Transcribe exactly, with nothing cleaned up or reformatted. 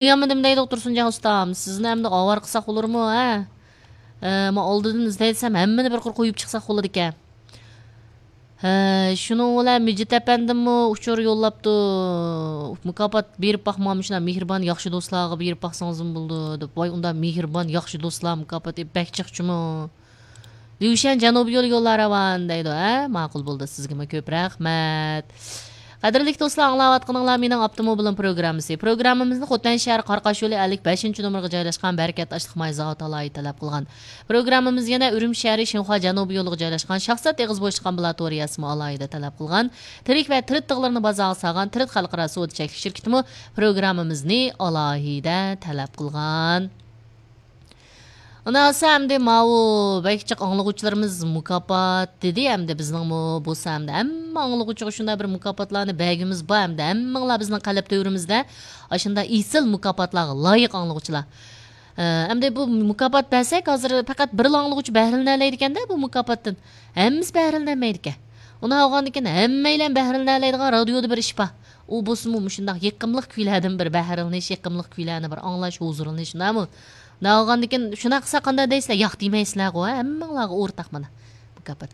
ئويلىمىدىم دەيدۇ تۇرسۇنجان ئۇستام. سىزنى ئەمدى ئاۋارە قىلساق بولۇرمۇ، ھە؟ ئە، ما ئالدىدىن ئىزدەيدىسەم، ھەممىنى بىر قۇر قويۇپ چىقساق بولىدىكەن. ھە، شۇنىڭ بىلەن مىجىت ئەپەندىممۇ ئۇچۇر يوللاپتۇ. مۇكاپات بېرىپ باقما، مۇشۇنداق مېھرىبان ياخشى دوستلارغا بېرىپ باقسىڭىزمۇ بولىدۇ، دەپ. ۋاي، ئۇنداق مېھرىبان ياخشى دوستلار مۇكاپاتى بەك جىقچىمۇ؟ ليۇشەن جەنۇبىي يول يوللار راۋان دەيدۇ، ھە؟ ماقۇل بولدى، سىزگىمۇ كۆپ رەھمەت. قەدىرلىك دوستلار، ئاڭلاۋاتقىنىڭلار مېنىڭ ئاپتوموبىلىم پروگراممىسى. پروگراممىمىزنى خوتەن شەھەر قاراقاش يولى ئەللىك بەشىنچى نومۇرغا جايلاشقان بەرىكەت ئاشلىق ماي زاۋۇتى ئالاھىدە تەلەپ قىلغان. پروگراممىمىز يەنە ئۈرۈمچى شەھىرى شىنخۇا جەنۇبىي يولىغا جايلاشقان شاھزات ئېغىز بوشلۇق ئامبۇلاتورىيەسىمۇ ئالاھىدە تەلەپ قىلغان. تىرىك ۋە تىرىت تىغلىرىنى بازارغا سالغان تىرىت خەلقئارا سودا چەكلىك شىركىتىمۇ پروگراممىمىزنى ئالاھىدە تەلەپ قىلغان. ئۇنداق بولسا ئەمدى ماۋۇ بەك جىق ئاڭلىغۇچىلىرىمىز مۇكاپات دېدى، ئەمدى بىزنىڭمۇ بولسا ئەمدى ھەممە ئاڭلىغۇچىغا شۇنداق بىر مۇكاپاتلارنى بەرگۈمىز بار، ئەمدى ھەممىڭلار بىزنىڭ قەلب تۆرىمىزدە ئاشۇنداق ئېسىل مۇكاپاتلارغا لايىق ئاڭلىغۇچىلار. ئە، ئەمدى بۇ مۇكاپات بەرسەك، ھازىر پەقەت بىرلا ئاڭلىغۇچى بەھرىلىنەلەيدىكەندە بۇ مۇكاپاتتىن. ھەممىسى بەھرىلىنەلمەيدىكەن. ئۇنداق بولغاندىكىن ھەممەيلەن بەھرىلىنەلەيدىغان رادىيودا بىر ئىش بار. ئۇ بولسىمۇ مۇشۇنداق يېقىملىق كۈيلەردىن بىر بەھرىلىنىش، يېقىملىق كۈيلەرنى بىر ئاڭلاش، ھۇزۇرلىنىش، شۇنداقمۇ؟ ئۇنداق بولغاندىكىن شۇنداق قىلسا قانداق دەيسىلەر؟ ياق دېمەيسىلەرغۇ، ھە؟ ھەممىڭلارغا ئورتاق مانا مۇكاپات.